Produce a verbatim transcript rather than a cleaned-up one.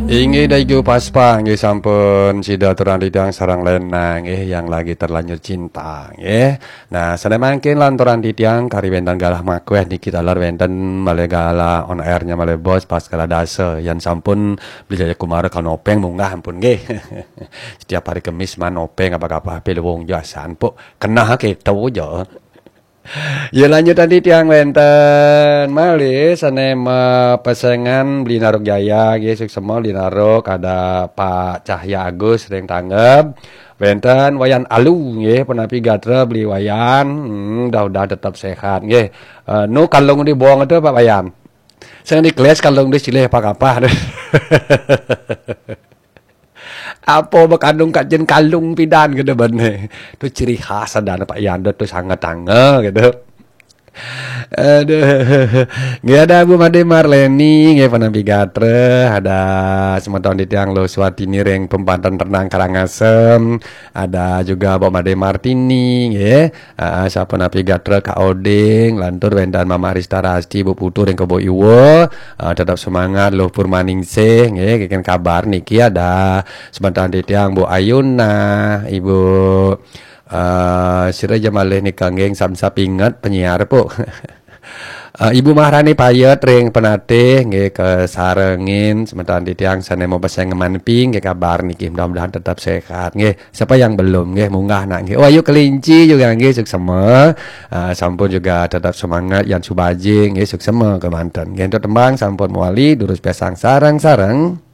Inggih Dayu Paspa, inggih sampun sida aturang titiang sareng Lena, inggih yang lagi terlanjur cinta, inggih. Nah, sané mangkin lanturang titiang kari wénten galah makwéh niki taler wénten malih galah on air-nya malih bos pas galah dasa. Yan sampun Beli Jaya Kumara kanopeng munggah ampun nggih. Setiap hari Kemis manopeng apa-apa pilih wong jasan pok kenah keto aja. Ya lanjutan titiang wénten malih sané mapesengan Beli Naruk Jaya nggih suksema Beli Naruk ada Pak Cahya Agus ring tanggep. Wénten Wayan Alu nggih penapi gatra Beli Wayan. Hmm, mudah-mudahan tetap sehat nggih. Eh, nu kalung di bawang itu Pak Wayan. Sing di kelas kalung di silih apa kapah. Apa bekandung kak jen kalung pidan gitu bene. Tu ciri khas ada Pak Yanda tu sangat tangga gitu. Aduh. Nggih ada Bu Made Marleni, nggih penapi gatra, ada semeton titiang Lo Suwatini ring Pembantan Renang Karangasem, ada juga Bu Made Martini, nggih. Ah, sapunapi gatra Kak Oding, lantur wénten Mama Rista Rasti, Bu Putu ring Kebo Iwa. Ah, tetap semangat Luh Purmaningsih, nggih, kengken kabar niki ada semeton titiang Bu Ayuna, Ibu eh sira ja malih nika nggih samsap inget penyiar pok. Eh, Ibu Maharani Payet ring Penatih nggih kasarengin semeton titiang sané mau pesengan ping nggih kabar niki mudah-mudahan tetap sehat nggih. Siapa yang belum nggih munggah nak nggih. Oh ayu kelinci juga nggih suksema. Ah, sampun juga tetap semangat yan subaji nggih suksema kemanten. Nggih untuk tembang sampun mewali durus pesang sareng-sareng.